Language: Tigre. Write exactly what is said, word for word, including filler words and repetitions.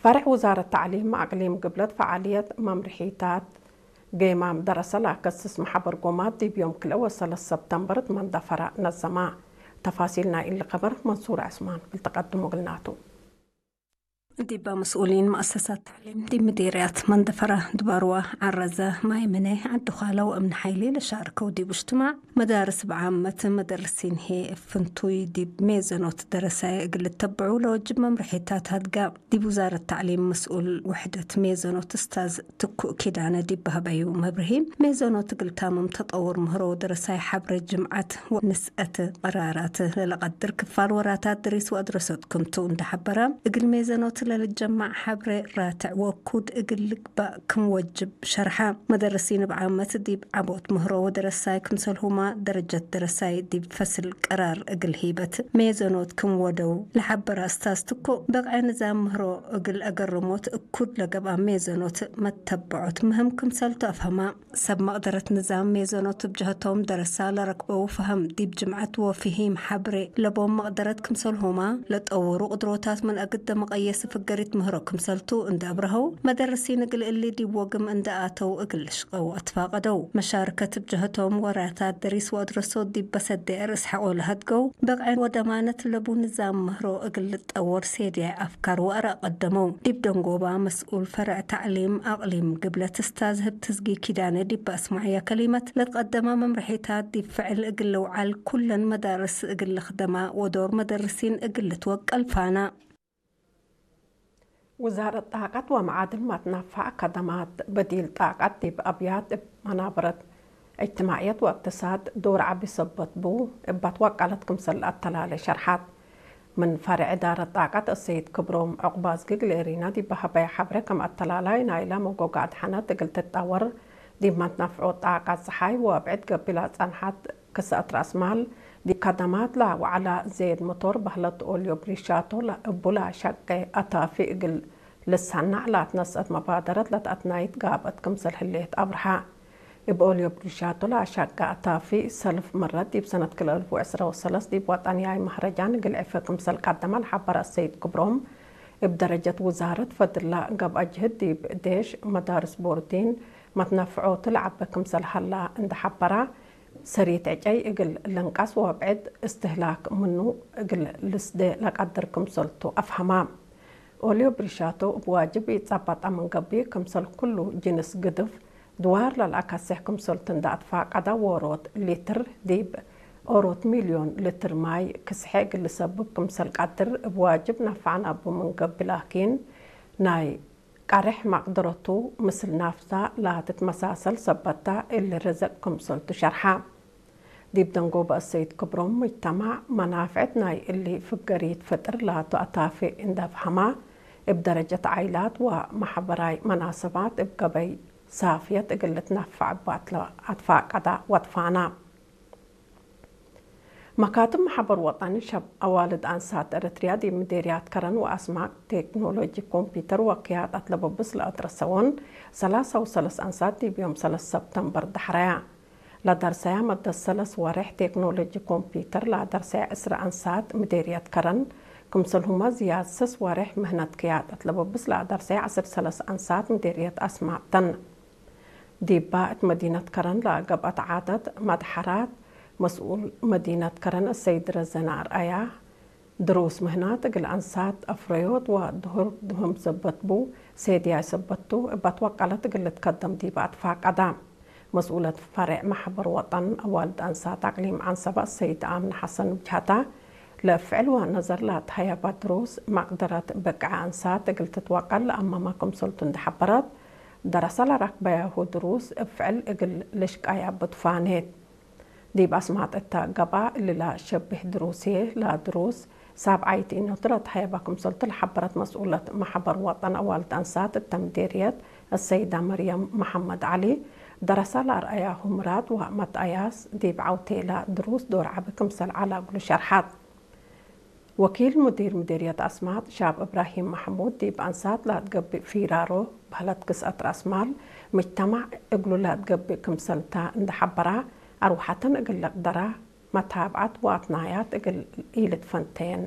ፈርዕ ውዛረት ተዕሊም አቅሊም ግብለት ፈዓልየት መምርሒታት ጌማም ደረሰ ለአከስስ መሐበር ጎማት ዲብ ዮም ክልኤ ወሰለስ ሰብተምበር እት መንደፈረ ነዘማ። ተፋሲል ናይ እሊ ከበር መንሱር ዕስማን እግል ተቀድሞ እግልናቱ። ዲበ መስኡሊን መአሰሳት ተዕሊም ዲብ ምዴርያት መንደፈረ ድባርዋ፣ ዐረዘ፣ ማይምነ፣ ዐዲ ኻለ ወእምነ ሓይሌ ለሻርከው ዲብ እጅትማዕ፣ መዳርስ ብዓመት መደርሲን ህዬ እብ ፍንቱይ ዲብ ሜዘኖት ደረሳይ እግል ልተብዑ ለወጅብ መምርሒታት ሀድጋ። ዲብ ውዛረት ተዕሊም መስኡል ውሕደት ሜዘኖት እስታዝ ትኩእ ኪዳነ ዲብ በህበዩ መብርሂ፣ ሜዘኖት እግል ታምም ተጠውር ምህሮ ወደረሳይ ሐብሬ ጅምዐት ወንስአት ቀራራት ለለቀድር ክፋል ወራታት ድሪስ ወአድረሶት ክምቱ እንደ ሐበረ፣ እግል ሜዘኖት ለልጀማዕ ሐብሬ ራትዕ ወኩድ እግል ልግባእ ክም ወጅብ ሸርሐ። መደርሲን እብ ዓመት ዲብ ዐቦት ምህሮ ወደረሳይ ክምሰልሁማ ደረጀት ደረሳይ ዲብ ፈስል ቀራር እግል ሂበት ሜዘኖት ክም ወደው ለሐበረ እስታዝ ትኩእ፣ በቅዐ ንዛም ምህሮ እግል አገርሞት እኩድ ለገብአ ሜዘኖት መተበዖት ምህም ክምሰልቱ አፍሀማ። ሰብ መቅደረት ንዛም ሜዘኖት እብ ጀሀቶም ደረሳ ለረክበው ፈሀም ዲብ ጅምዐት ወፍሂም ሐብሬ ለቦም መቅደረት ክምሰልሁማ ለጠውሩ ቅድሮታት ምን አግደ መቀየስ ፍገሪት ምህሮ ክምሰልቱ እንደ አብረሀው፣ መደርሲን እግል እሊ ዲብ ወግም እንደ አተው እግል ልሽቀው አትፋቀደው። መሻርከት እብ ጀሀቶም ወራታት ደሪስ ወአድረሶት ዲብ በሰዴ ርእስ ሐቆ ለሀድገው በቅዐ ወደማነት ለቡ ንዛም ምህሮ እግል ልጠወር ሴድያይ አፍካር ወአራእ ቀደመው። ዲብ ደንጎባ መስኡል ፈርዕ ተዕሊም አቅሊም ግብለት እስታዝ ህብትዝጊ ኪዳነ ዲብ አስማዕያ ከሊመት፣ ለትቀደመ መምርሒታት ዲብ ፍዕል እግል ልውዓል ኩለን መዳርስ እግል ልክደማ ወዶር መደርሲን እግል ልትወቀል ፋና። ውዛረት ጣቀት ወመዓድን መትነፈዕ ከደማት በዲል ጣቀት ዲብ አብያት እብ መናበረት እጅትማዕየት ወእቅትሳድ ዶር ዐቢ ሰበት ቡ፣ እባት ወቀለት ክምሰል ለአተላሌ ሸርሐት። ምን ፈርዕ እዳረት ጣቀት አሰይድ ክብሮም ዑቅባዝጊ እግል ኤሪና ዲብ ሀበየ ሐብሬ፣ ከም አተላላይ ናይለ መጎጋዕት ሐነት እግል ትጠወር፣ ዲብ መትነፍዖት ጣቀት ጸሓይ ወአብዕድ ገብእ ለጸንሐት ክሰአት ረአስ ማል፣ ዲብ ከደማት ለወዐለ ዜድ ሞቶር በህለት ኦልዮ ብሪሻቶ እቡ ለአሸቄ አታፊ እግል ልሰነዕ ለአትነስአት መባደረት ለተአትናይት ጋብአት ክምሰል ህሌት አብርሀ። እብ ኦልዮ ብሪሻቶ ለአሸቄ አታፊ ሰልፍ ምረት ዲብ ሰነት ክልኤ አልፍ ወዕስራ ወሰለስ ዲብ ወጠንያይ መህረጃን እግል ዕፈ ክምሰል ቀደመ ለሐበረ አሰይድ ክብሮም፣ እብ ደረጀት ውዛረት ፈድለ ገብአ ጅህድ ዲብ ዴሽ፣ መዳርስ ቦርዲን፣ መትነፍዖቱ ለዐበ ክምሰል ሀላ እንደ ሐበረ፣ ሰሪት ዕጨይ እግል ልንቀስ ወአብዕድ እስትህላክ ምኑ እግል ልስዴ ለቀድር ክምሰልቱ አፍሀማ። ኦልዮ ብሪሻቶ እብ ዋጅብ ኢጸበጠ ምን ገብእ፣ ክምሰል ኩሉ ጅንስ ግድፍ ድዋር ለልአከሴሕ ክምሰልቱ እንደ አትፋቀደ፣ ዎሮት ሊትር ዲብ ኦሮት ሚልዮን ሊትር ማይ ክስሐ እግል ልሰብብ ክምሰል ቀድር እብ ዋጅብ ነፈዐ ነቡ ምን ገብእ፣ ላኪን ናይ ቀሬሕ መቅደረቱ ምስል ናፍሳ ለትትመሳሰል ሰበታ እሊ ርዝቅ ክምሰልቱ ሸርሐ። ዲብ ደንጎበ አሰይድ ክብሮም፣ ሙጅተማዕ መናፍዕት ናይ እሊ ፍገሪት ፍጥር ላቱ አታፊ እንደ አፍሀማ፣ እብ ደረጀት ዓይላት ወመሐበራይ መናሰባት እብ ገበይ ሳፍየት እግል ልትነፈዕ እባትለ አትፋቀዳ ወትፋና። መካትብ መሐበር ወጠን ሸብ አዋልድ አንሳት ኤረትርያ ዲብ ምዴርያት ከረን ወአስማጥ ቴክኖሎጂ ኮምፒተር ወክያጠት ለበብስ ለአድረሰወን ሰላሳ ወሰለስ አንሳት ዲብ ዮም ሰለስ ሰብተምበር ደሐረያ ለደርሰያ መደት ሰለስ ወሬሕ ቴክኖሎጂ ኮምፒተር ለአደርሰያ ዕስራ አንሳት ምዴርየት ከረን፣ ክምሰልሁመ ዝያድ ሰስ ወሬሕ ምህነት ክያጠት ለበብስ ለአደርሰያ ዐስር ሰለስ አንሳት ምዴርየት አስማጥ ተን። ዲባ እት መዲነት ከረን ለገብአት ዓደት መድሐራት፣ መስኡል መዲነት ከረን አሰይድ ረዘነ አርአያ፣ ድሩስ ምህናት እግል አንሳት አፍረዮት ወድሁር ድሁም ሰበት ቡ፣ ሴድያይ ሰበት ቱ፣ እባት ወቀለት እግል ልትከደም ዲባ አትፋቀዳ። መስኡለት ፈሬዕ መሕበር ወጠን አዋልድ አንሳት አቅሊም ዐንሰበ አሰይድ አምነ ሐሰን እብ ጀሀታ፣ ለእብ ፍዕል ወነዘር ለአትሀየበ ድሩስ መቅደረት ብቅዐ አንሳት እግል ትትወቀል ለአመመ ክምሰልቱ እንዴ ሐበረት፣ ደረሰ ለረክበያሁ ድሩስ እብ ፍዕል እግል ልሽቀያ ብትፋኔት። ዲብ አስማጥ እተ ገብአ፣ እሊ ለሸብህ ድሩስ ህዬ ለድሩስ ሳብዓይት ኢኖቱ ለትሀየበ ክምሰልቱ ለሐበረት መስኡለት መሕበር ወጠን አዋልድ አንሳት እተ ምዴርየት፣ አሰይዳ መርየም መሐመድ ዐሊ፣ ደረሰ ለአርአያሁ ምራድ ወመትአያስ ዲብ ዐውቴለ ድሩስ ዶር ዐቢ ክምሰል ዐለ እግሉ ሸርሐት። ወኪል ሙዲር ምዴርየት አስማጥ ሻብ እብራሂም መሕሙድ ዲብ አንሳት ለአትገብእ ፊራሮ በህለት ክስአት ረአስ ማል ምጅተማዕ እግሉ ለአትገብእ ክምሰልተ እንዴ ሐበረ፣ አርወሐተን እግል ልቅደራ መታብዐት ወአትናያት እግል ኢልትፈንተየን